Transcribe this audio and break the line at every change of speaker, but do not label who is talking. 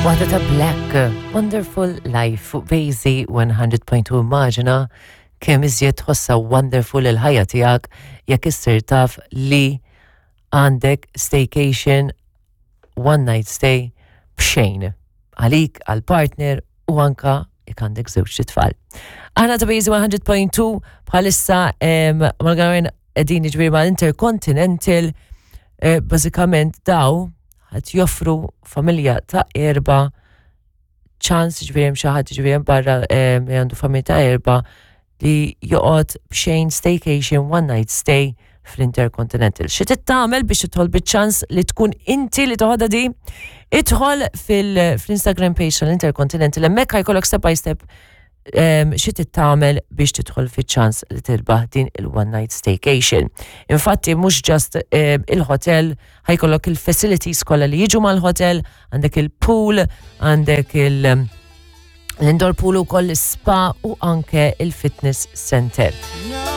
Waħda ta' Black, Wonderful Life fuq Bejzi 100.2. Immaġina kemm iżjed tħossha wonderful il-ħajja tiegħek jekk issir taf li għandek staycation, one night stay b'xejn għalik, għal-partner u anka jekk għandek żewġ tfal. Aħna ta' Bejzi 100.2 bħalissa mal-għarren qegħdin jiġifieri mal-Intercontinental, bażikament daw qed joffru familja ta' erba' ċans, ġifieri hemm xi ħadd, ġifieri hemm barra li għandu familja ta' erba' li joqgħod b'xejn staycation one night stay fl-Intercontinental. Xi trid tagħmel biex tidħol biċ-ċans li tkun inti li toħodha di? Idħol fil-Instagram page tal-Intercontinental, hemmhekk ħajkollok step by step xi trid tagħmel biex tidħol fiċ-ċans li tirbaħ din il-one night staycation. Infatti mhux just il-hotel, ħajkollok il-facilities kollha li jiġu mal-hotel, għandek il-pool, għandek il- l-indoor pool u koll spa u anke il-fitness center.